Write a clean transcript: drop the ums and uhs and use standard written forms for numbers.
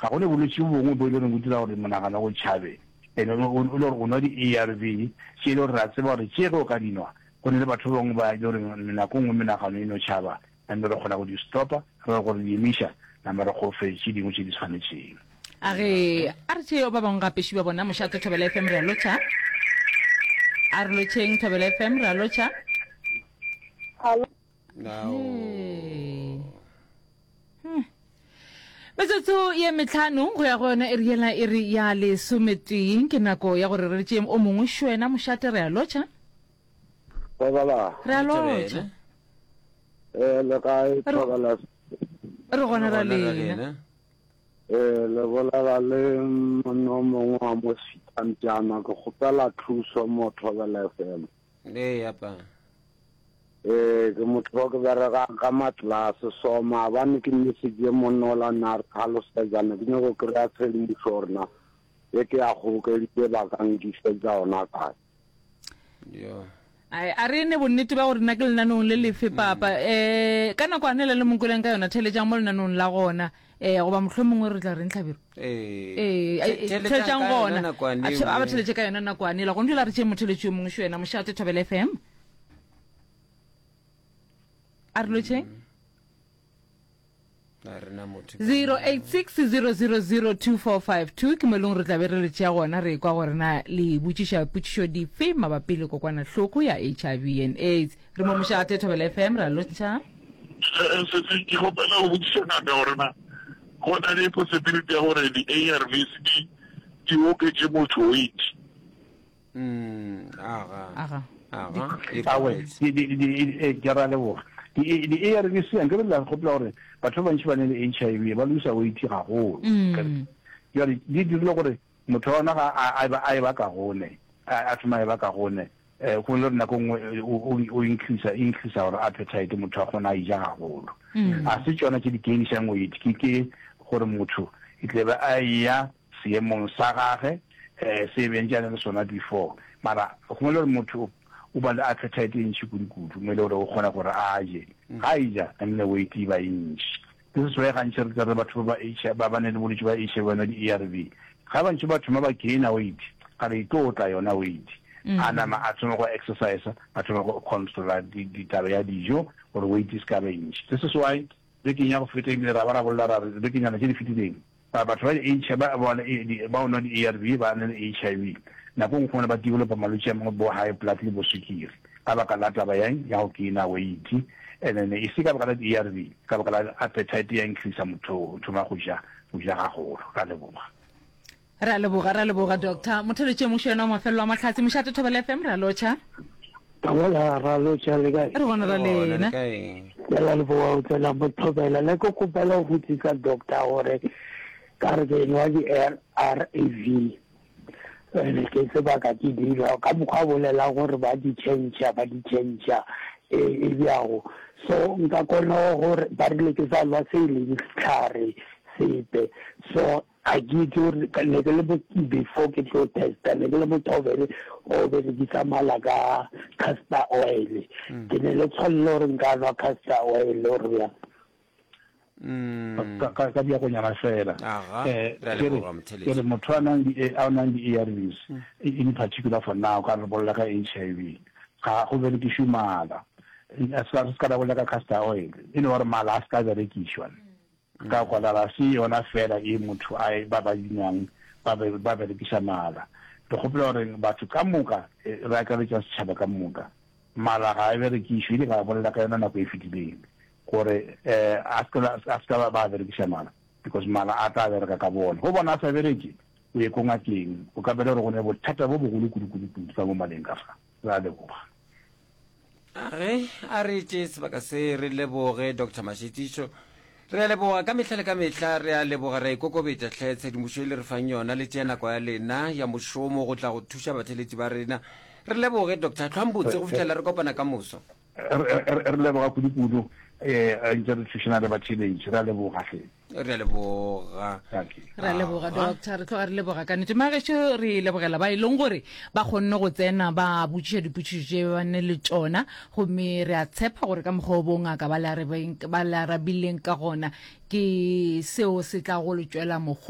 Ga go ne bolwetši bo bongwe bo e le goreng bo dira gore monagano o tšhabe. And o, o, o le gore o nwa di-ARV tše e le gore re a tseba gore tše ge o ka di nwa, go ne le batho ba bangwe ba e le goreng nako nngwe menagano e no tšhaba, and re kgona go di stopa, re go di emiša, nama re go fe tše dingwe tše di tshwanetšeng. A re, a re tšeo ba bangwe gape šiba bona mošate Thobela FM re a lotšha. A re lotšheng Thobela FM re a lotšha. Hmm. Metsotso ye metlhano go ya go yona e re yela e re ya lesometee ke nako ya gore re tšeeng o mongwe šwena mošate re a lotšha. Thobela. Re a lotšha. Eh le kae Thobela? Re gona ra lena. Ee, le bolela le monna o mongwe wa mo Sitampjana, ke kgopela thuso mo Thobela FM. Ee, apa. Ee, ke motho wa ke berekang ka matlase, so maabane ke message monna ola ne a re tlhalosetsa, ne ke nyako kry-a tshedimošo gore na ye ke ya kgobokeditse ba ka nkišetša ona kae. Yo. Ai, a re ne bonnete ba gore nna ke lenanong le lefe papa. Um ka nako ane le le mokweleng ka yona theletšang mo lenanong la gona. Um goba mohlomongwe re tla reng hlabiro? Ee. Ee, The- theletšang theletšang ka yona gona. nakwane A eo, ba eh. theletše ka yona nakwane ela. Gona jwale a re tšee motheletši yo mongwe šo yena Mošate Thobela FM. A re lotšheng. 0860002452 ke mo e leng re tla be re le tšea gona re kwa gore na le botšiša potšišo dife mabapi le kokwanahloko ya HIV and AIDS. Re mo mošate Thobela FM ra lotšha. Sesi ke kgopela go botšiša ngaka gore na go na le possibility ya gore di-ARVs di di oketše motho weight. Mm, aga. Aga. Aga. E Awe, gabotse. di, di, di, e, ke ra leboga. Di, di ARVs a nkere la gopola gore batho ba bantši ba ne le HIV ba losa weight gagolo. Mm. Jwale di dirile gore motho wa ona ga a, a, ba, a e ba kagone, a, a thoma e ba kagone. Eh, go le gore nako nngwe eh, o, o, o increase, increase gore appetite motho a kgona a ija gagolo. Mm. A se tšona tše di gainišang weight, ke ke gore motho e tle be a eya seemong sa gage um se e bentše a ne le sona before mara gongwe le gore motho o ba le appetite e ntši kudu-kudu mo e le gore o kgona gore a je ga a eja and the weight e ba e ntši. This is why gantši re tla re batho ba ba ba ba ne le bolwetši ba HIV ba nwa di-ARV ga bantši ba thoma ba gaina weight ga re e tlo tla yona weight a nama a thoma go exercise a thoma go controla ditaba ya dijo gore weight e se ka ba e ntši. This is why bekeng ya go feta ebile ra ba ra bolela ra re bekenyana tše di fetileng Ba batho ba di ba ba ba nwa di-ARV ba na le HIV nako nngwe gona ba developa malwetši a mangwe bo high blood le bo sukiri ka baka la taba ya ya go gaina weight and then e se ka baka la di-ARV ka baka la appetite ya increase motho o thoma go ja go ja gagolo. Ra leboga. Re a leboga, re a leboga Doctor. Motheletši yo mongwe yena wa mafelelo a mahlatse, Mošate Thobela FM, re a lotšha. Thobela, ra lotšha le kae? Re gona ra lena. Ke a leboga go tsena mo Thobela. Ne ke kgopela go botsisa doctor gore ka re ke nwa di-R_A_V ene ke sebaka ke di nwa ka mokgwa a bolelang gore ba di change ba di change e e bjago so nka kgona gore ba rile ke sa nwa se e leng sehlare sepe so Ga ke itse gore ne ke le before ke tlo testa ne ke le motho o bere o berekisa mala ka castor oil mm. ke ne le tshwanelo gore nka nwa castor oil or bjang mm. ka bjakonyana fela eh, ke re motho a nang a nang di-arvs mm. in particular for now ka re bolela ka h i v ga go berekišwe mala se ka ra bolela ka castor oil e no gore mala a se ka berekišwa Ka gona ga se yona feela ye motho a e ba ba dinwang ba be ba berekiša mala. Re kgopela gore batho ka moka, re akaretša setšhaba ka moka, mala ga a berekišwe, ile ka bolela ka yona nako e fetileng gore a se a se ka ba berekiša mala because mala a tla bereka ka bona. Go bona a sa bereke, o ye ko ngakeng, o ka bele gore go ne bothata bo bogolo kudu-kudu-kudu ka mo maleng ka fa. Re a leboga. A re a re tše sebaka se re leboge Doctor Mashetišo. Re a leboga ka mehla le ka mehla, re a leboga, re a ikokobetša hle tshedimošo e le re fang yona le tšea nako ya lena ya mošomo go tla go thuša batheletši ba rena. Re leboge Doctor Hlwambotse go fihlela re kopana ka moso. Re leboga kudu-kudu, eh, ntse re thušana le batheletši, re a leboga hle. Re a leboga. Re a leboga doctor, re tloga re leboga ka nnete. Magešo re lebogela ba e leng gore ba kgonne go tsena ba botšiša dipotšišo tše ba ne le tšona, gomme re a tshepa gore ka mokgwa o bongaka ba le arabileng ka gona ke seo se tla go le tšwela mohola.